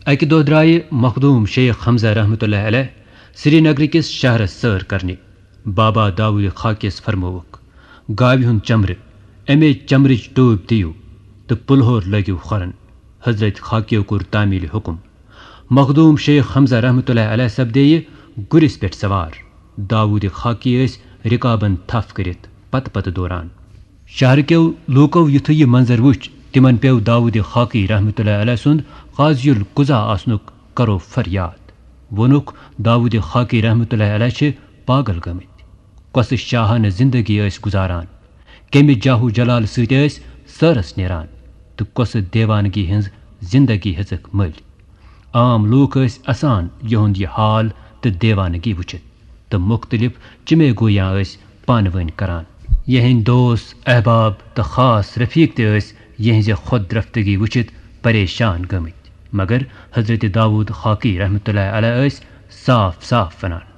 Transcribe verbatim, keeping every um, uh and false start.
اکہِ دۄہ درٛایہِ مخدوٗم شیخ حمزہ رحمتہ اللہ علیہ سرینگرٕ کِس شہرس سٲر کرنہِ۔ بابا داوود خاکیس فرمووُکھ، "گاوِ ہُنٛد چمرٕ، امے چمرٕچ ٹوٗپۍ دِیِو تہٕ پُلہور لٲگِو کھۄرن۔" حضرت خاکیو کوٚر تعمیل حکم۔ مخدوٗم شیخ حمزہ رحمتہ اللہ علیہ سپدییہِ گُرِس پٮ۪ٹھ سوار۔ داوود خاکی ٲسۍ رکابن تھپھ کٔرِتھ پتہٕ پتہٕ دوران۔ شہرٕ کیو لوٗکو یُتھُے یہِ منظر وُچھ، تِمن پیوٚو داوود خاکی رحمتہ اللہ علیہ سُنٛد قاضی القضا آسنُک کرو فریاد۔ ووٚنُکھ، "داوود خاکی رحمتہ اللہ علیہ چھِ پاگل گٔمٕتۍ۔ کۄسہٕ شاہانہٕ زندگی ٲسۍ گُزاران، کمہِ جاہ و جلال سۭتۍ ٲسۍ سٲرس نیران، تہٕ کۄسہٕ دیوانگی ہٕنٛز زندگی ہیژٕکھ مٔلۍ؟" عام لوٗکھ ٲسۍ اسان یِہُنٛد یہِ حال تہٕ دیوانگی وُچھِتھ، تہٕ مُختٔلِف چِمے گویاں ٲسۍ پانہٕ وٲنۍ کران۔ یِہنٛدۍ دوس، احباب تہٕ خاص رفیق تہِ ٲسۍ یِہنٛزِ خۄد رفتگی وُچھِتھ پریشان گٔمٕتۍ۔ مگر حضرت داوود خاکی رحمتہ اللہ علیہ ٲسۍ صاف صاف ونان،